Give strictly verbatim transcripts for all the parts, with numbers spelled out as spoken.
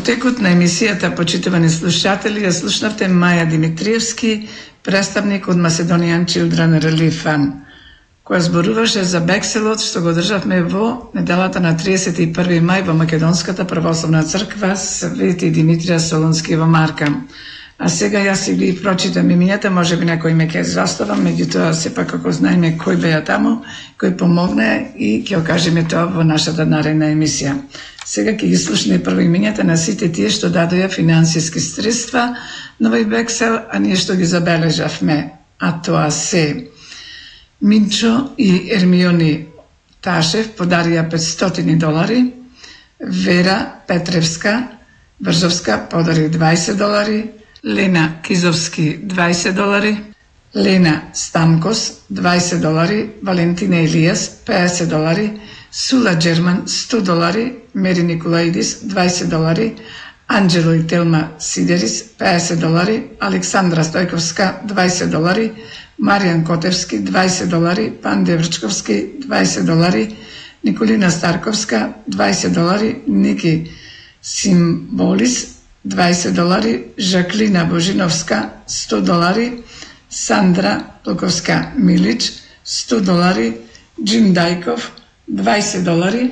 текот на емисијата, почитувани слушатели, ја слушнавте Маја Димитриевски, представник од Macedonian Children Relief Fund, која зборуваше за бекселот што го државме во неделата на триесет и први мај во Македонската православна црква Свети Димитрија Солунски во Марка. А сега јас си ги прочитам имињата, може би некој ме ќе заставам, меѓутоа сепак како знаеме кој беа таму, кој помогне и ќе окажеме тоа во нашата наредна емисија. Сега ќе ги слушаме прво имињата на сите тие што дадоја финансиски средства на овој бексел, а ние што ги забележавме, а тоа се Минчо и Ермиони Ташев подарија петстотини долари, Вера Петревска Бржовска подари дваесет долари, Лена Кизовски дваесет долари, Лена Стамкос дваесет долари, Валентина Илијас педесет долари, Сула Джерман сто долари, Мери Николаидис дваесет долари, Анджело и Телма Сидерис педесет долари, Александра Стојковска дваесет долари, Маријан Котевски дваесет долари, Панде Врчковски дваесет долари, Николина Старковска дваесет долари, Ники Симболис дваесет долари, Жаклина Божиновска сто долари, Сандра Плоковска Милич сто долари, Джим Дајков дваесет долари,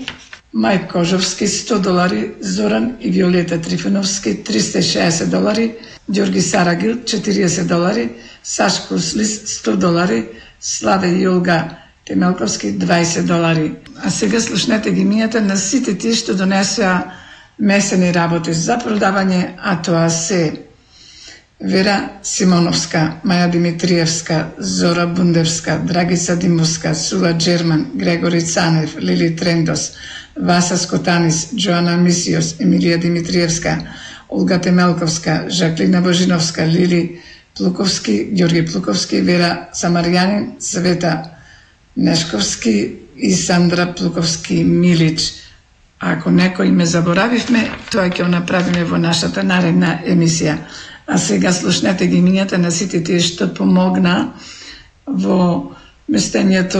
Мајк Кожовски сто долари, Зоран и Виолета Трифоновски триста и шеесет долари, Ѓорги Сарагил четириесет долари, Сашко Слис сто долари, Славе и Јолга Темелковски дваесет долари. А сега слушнете ги имињата на сите тие што донесоа месени работи за продавање, а тоа се Вера Симоновска, Маја Димитриевска, Зора Бундевска, Драгица Димовска, Сула Джерман, Грегори Цанев, Лили Трендос, Васа Скотанис, Джоана Мисиос, Емилија Димитриевска, Олга Темелковска, Жаклина Божиновска, Лили Плуковски, Ѓорги Плуковски, Вера Самарјанин, Света Нешковски и Сандра Плуковски Милич. А ако некој ме заборавивме, тоа ќе го направиме во нашата наредна емисија. А сега слушнете ги имињата на сите тие што помогна во местењето